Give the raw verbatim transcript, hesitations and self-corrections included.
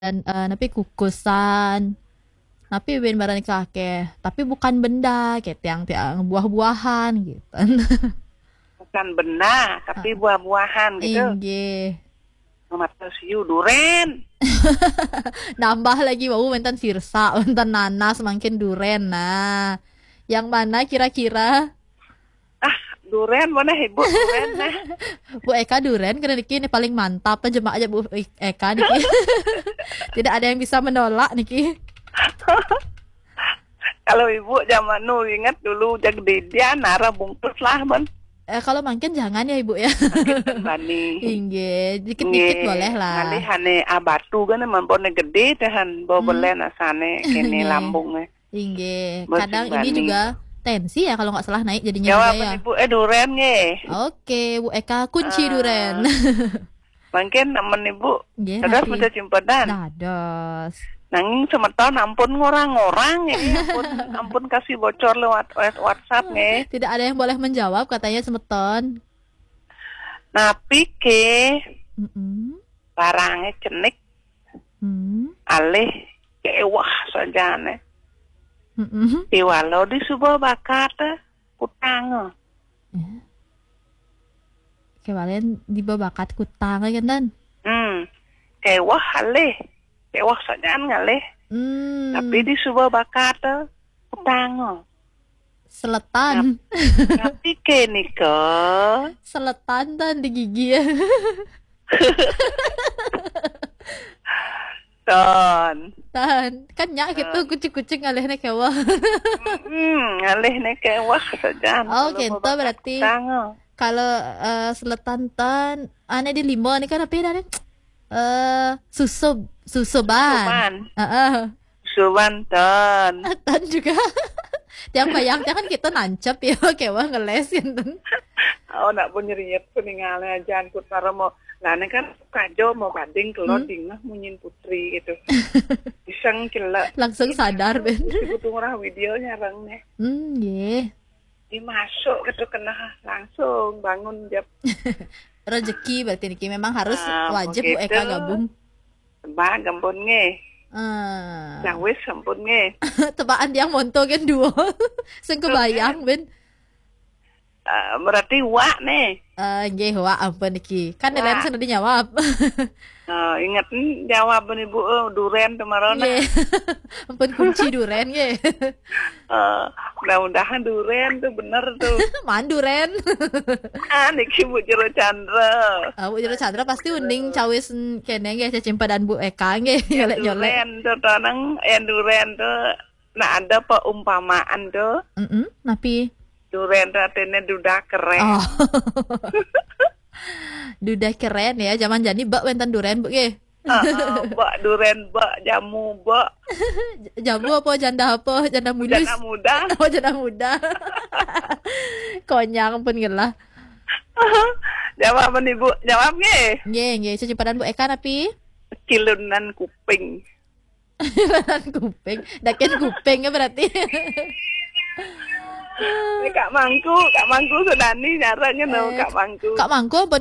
dan, eh, napi kukusan. Napi buin baran nika akeh. Tapi bukan benda, kayak tiang-tiang buah-buahan gitu. Bukan benda, tapi buah-buahan gitu. Inggih. Mata siu duren. Nambah lagi, wau, wénten sirsak, wénten nanas, mangkin duren. Nah, yang mana kira-kira? Ah, duren mana, Ibu? Duren nah. Bu Eka, duren kena niki, ini paling mantap, jemak aja Bu Eka niki. Tidak ada yang bisa menolak niki. Kalau Ibu zaman nu ingat dulu, jag didian, arah bungkus lah, men. Eh, kalau mangkin jangan ya, Ibu, ya. Mangkin bani. Inggih, dikit-dikit boleh lah. Ngalih ane abatu kan, mampone gede tahan, bawa belen asane, kene lambungnya. Inggih, kadang ini juga tensi ya, kalau nggak salah naik jadinya. Jawaban juga ya. Ibu, eh, duren nggih. Oke, Bu Eka, kunci duren. Mangkin nemen Ibu. Nggih, dados napi? Meja cimpadan. Dados. Nanging semeton ampun ngorang-ngorang ya, ampun, ampun kasih bocor lewat, lewat WhatsApp nggih. Tidak ada yang boleh menjawab katanya semeton. Napi ke? Mm-mm. Barangnya cenik. Hmm. Alih kewah sajane. Mm-mm. Iwalo di suba bakat kutang. Ya. Kewalian di bakat kutang kan, Dan? Hmm. Kewah alih. Kewah sajane ngalih. Hmm. Tapi di suba bakat kutang. Seletan. Tapi ke nika? Seletan, Dan, di gigi. Ton. Tan, kan nyak gitu, kucing-kucing ngalihnya kewah. Hmm, ngalihnya kewah saja. Oh, gitu berarti. Kalau, eh, seletan, Tan, ane di lima nih kan apa ya, Tan? Eh, susub, susuban. Susuban. Heeh. Susuban, Tan. Tan juga. Tiang bayang, tiang kan kita nancep ya, kewah ngeles gitu. Oh, nak pun nyeriet, peningalnya aja, angkut para mau. Lah, ini kan kajo mau banding, kalau dingah munyin putri gitu. Iseng celek. Langsung sadar, Ben. Butuh ngurah video nyarang nih. Hmm, nggih. Dimasuk gitu kena langsung bangun jam. Rezeki berarti niki memang harus wajib Bu Eka gabung. Tebak gampun nggih. Ah. Yang wis sampun nggih. Tebakan tiang monto kan dua. Sing kebayang, Ben. Ah, berarti wak nih. Eh, nggih, wak ampun niki. Kan lain sudah dijawab. Oh, ingat nih jawaban Ibu, eh, duren kemarin. Nggih. Ampun kunci duren nggih. Eh, mudah-mudahan duren tuh bener tuh. Man duren. Ah, niki Bu Jero Chandra. Ah, Bu Jero Chandra pasti uning cawis kene nggih, cecimpadan Bu Eka nggih, nyolek-nyolek. Duren tuh tonang, eh, duren tuh. Nah, ada perumpamaan tuh. Mm-mm, napi? Duren tuh artinya duda keren. Oh. Duda keren ya, zaman jani bak wénten duren, Bu, nggih. Heeh, bak duren, bak jamu, bak. Jamu apa, janda apa? Janda mulus. Janda muda. Oh, janda muda. Konyang pun ngelah. Jawab nih, Bu. Jawab nggih. Nggih, nggih. Cecimpadan Bu Eka napi? Kilunan kuping. Kilunan kuping. Dakin kuping ya berarti. Ini Kak Mangku, Kak Mangku Sudani nyarang, you know, Kak Mangku. Kak Mangku apa